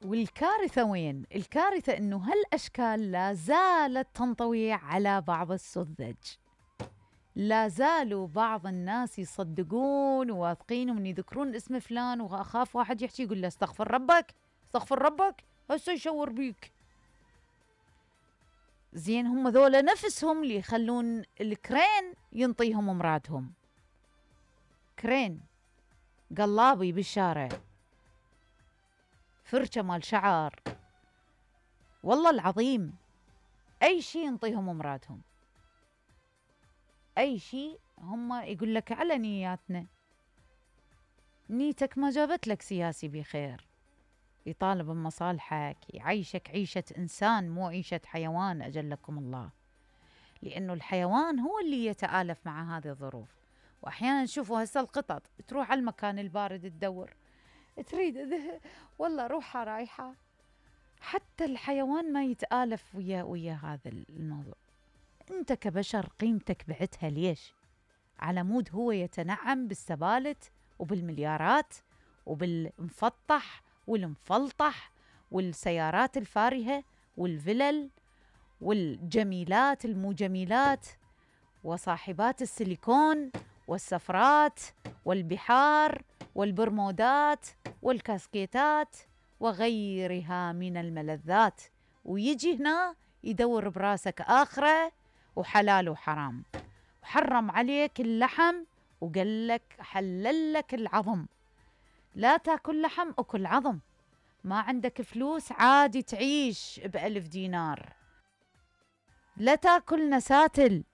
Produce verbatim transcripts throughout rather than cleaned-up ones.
والكارثة وين؟ الكارثة إنه هالأشكال لا زالت تنطوي على بعض السذج، لا زالوا بعض الناس يصدقون وواثقين ومن يذكرون اسم فلان وأخاف واحد يحكي يقول له استغفر ربك استغفر ربك هسه يشور بيك. زين هم ذولا نفسهم اللي يخلون الكرين ينطيهم امراتهم، كرين قلابي بالشارع، فرشة مال شعر، والله العظيم أي شي ينطيهم امراتهم، أي شي. هم يقول لك على نياتنا، نيتك ما جابت لك سياسي بخير، يطالب بمصالحك، يعيشك عيشة إنسان مو عيشة حيوان أجلكم الله، لأنه الحيوان هو اللي يتآلف مع هذه الظروف. وأحيانا نشوفوا هسه القطط تروح على المكان البارد تدور، تريد والله روحها رايحة. حتى الحيوان ما يتآلف ويا ويا هذا الموضوع. أنت كبشر قيمتك بعتها ليش؟ على مود هو يتنعم بالسبالت وبالمليارات وبالمفطح والمفلطح والسيارات الفارهة والفلل والجميلات المو جميلات وصاحبات السيليكون والسفرات والبحار والبرمودات والكاسكيتات وغيرها من الملذات، ويجي هنا يدور براسك آخرة وحلال وحرام، وحرم عليك اللحم وقال لك حلل لك العظم. لا تاكل لحم أكل عظم. ما عندك فلوس عادي تعيش بألف دينار. لا تاكل نساتل.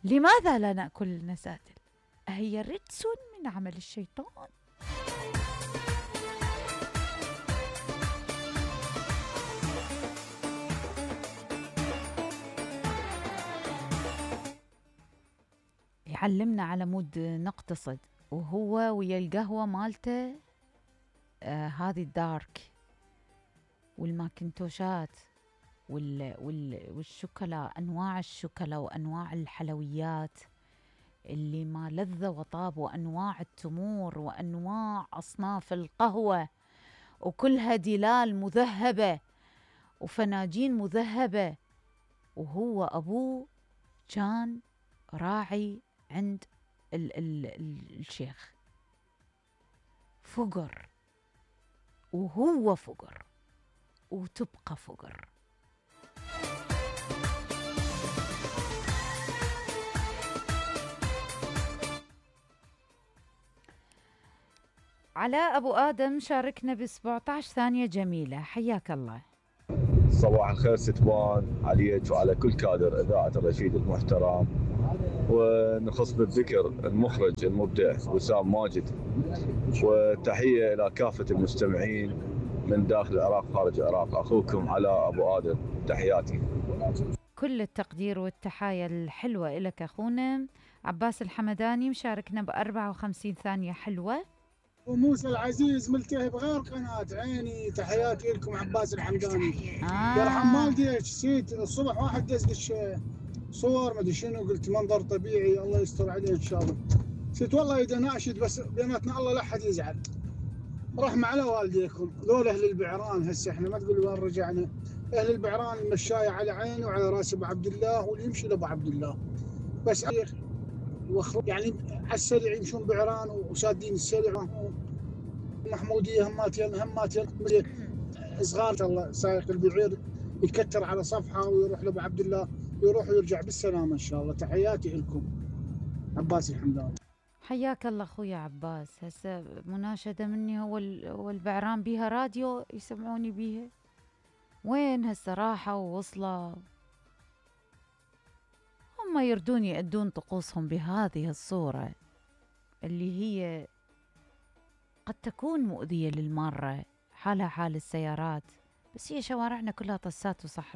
لماذا لا نأكل نساتل؟ أهي رجس من عمل الشيطان. يعلمنا على مود نقتصد، وهو ويا القهوة مالته آه هذه الدارك والماكنتوشات وال وال والشوكولا، أنواع الشوكولا وأنواع الحلويات اللي ما لذ وطاب، وأنواع التمور وأنواع أصناف القهوة، وكلها دلال مذهبة وفناجين مذهبة. وهو أبوه كان راعي عند ال ال ال الشيخ، فقر، وهو فقر وتبقى فقر. علاء أبو آدم شاركنا ب سبعة عشر ثانية جميلة، حياك الله. صباح الخير ستوان عليك وعلى كل كادر إذاعة الرشيد المحترم، ونخص بالذكر المخرج المبدع وسام ماجد، وتحية إلى كافة المستمعين من داخل العراق خارج العراق. أخوكم علاء أبو آدم، تحياتي. كل التقدير والتحايا الحلوة إلك أخونا عباس الحمداني، مشاركنا بأربعة وخمسين ثانية حلوة. وموسى العزيز ملتهب غير قناة عيني، تحياتي لكم عباس الحمداني. آه. يرحم والديك، نسيت الصبح واحد دزدش صور ما ادري شنو، قلت منظر طبيعي الله يستر عليه ان شاء الله. نسيت والله اذا ناشد بس بيناتنا الله لا احد يزعل. رحمة على والديكم ذول اهل البعران. هسه احنا ما تقول وين رجعنا. اهل البعران المشاية على عيني وعلى راس ابو عبد الله، واللي يمشي لابو عبد الله بس يعني على السريع يمشون بعران وسادين السريع. محمودية هماتين هماتين صغار، الله سايق البعير يكتر على صفحة ويروح لابو عبد الله، يروح ويرجع بالسلامة ان شاء الله. تحياتي لكم عباس الحمداني. حياك الله اخويا عباس. هسه مناشدة مني، هو هو البعران بيها راديو يسمعوني بيها؟ وين هسه راحوا ووصلوا؟ هم يردون يأدون طقوسهم بهذه الصورة اللي هي قد تكون مؤذية للمارة، حالها حال السيارات، بس هي شوارعنا كلها طسات وصحراء.